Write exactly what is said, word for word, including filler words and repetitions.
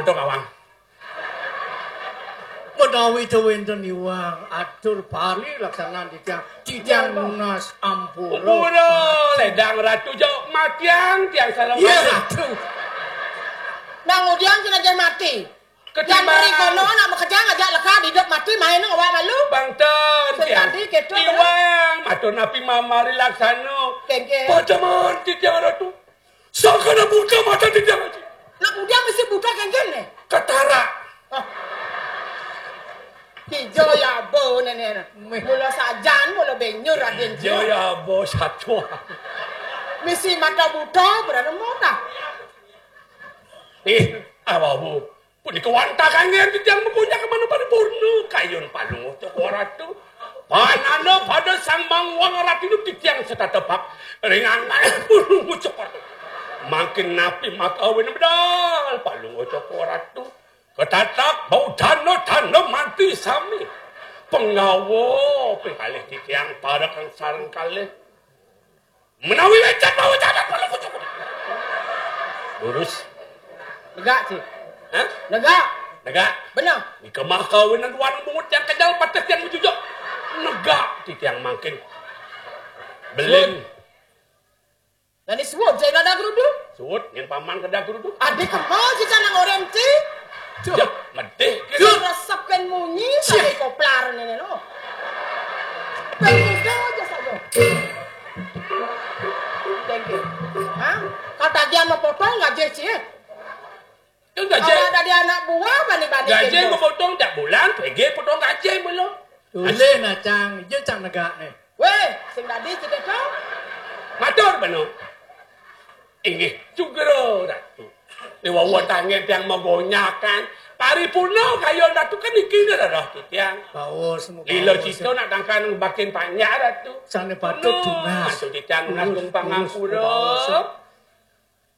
Aduh, kawang. Menawi teu wénten iwang, atur pari laksanan titiang, titiang nunas ampura. Ampura, ledang Ratu, jauh matiang tiang sareng. Iya, Ratu. Nang udiang cenah mati. Ketimbang. Yang beri kono nak makejang aja leka hidup mati main awak malu. Bangten, sing tiang. Tadi gitu, iwang, matur napi mamari laksana. Kéngkén. Pajaman titiang Ratu. Sakana buta mata titiang, Aji. Nak udiang mesti buta kéngkén né. Ketara. Ah. Ijo ya bo néné. Mula sajan, mula benyur Radén. Ijo ya bo satua. Misi mata buta, berapa mau tah? Ih, apa bu? Punika wantah kanggén titiang magonyak ka mana paripurna, kayun palungguh Cokor Ratu. Pananda pada Sang Mangwang Ratu titiang setata bab ring angkana palungguh Cokor Ratu. Mangkin napi makawin medal palungguh Cokor Ratu. Ketatak bau dana-dana mati sami. Penggawa ping kalih titiang parekan sareng kalih. Menawi wénten mawon catet perlu kucuk. Lurus. Negak, Cik. Hah? Negak. Negak. Bener. Nika mah kawinan wan bungut yang kejal patah yang menjujur. Negak titiang mangkin. Belin. Suwun. Lan suwun, saya ada gerudu. Suwun, yang paman kada gerudu. Adik kemau si canang oren, Cik. Cuk. Ya, medih. Cuk. Resep kan munyi, cik, sampai koplar ini loh. Pengudah aja saja. Thank you. Hah? Kata dia mau potong gaji, Cik. Itu gaji. Kalau ada dia anak buah, bani-bani gaji gitu. Mau potong tiap bulan, P G potong gaji mulu. Tulis nah, Cang. Iya, Cang, negak nih. Wéh, sing dadi cedhek to? Matur, Bano. Inggih, Cokor Ratu. Dewa wetangé tiang magonyakan. Paripurna kayun Ratu kan iki ngeroh titiang. Baos, muka lila baos. Cita nak tangkan bakin panjak, Ratu. Sané patut tunas. Ratu titiang nunas. Lurus, pangampura. Lurus, baos.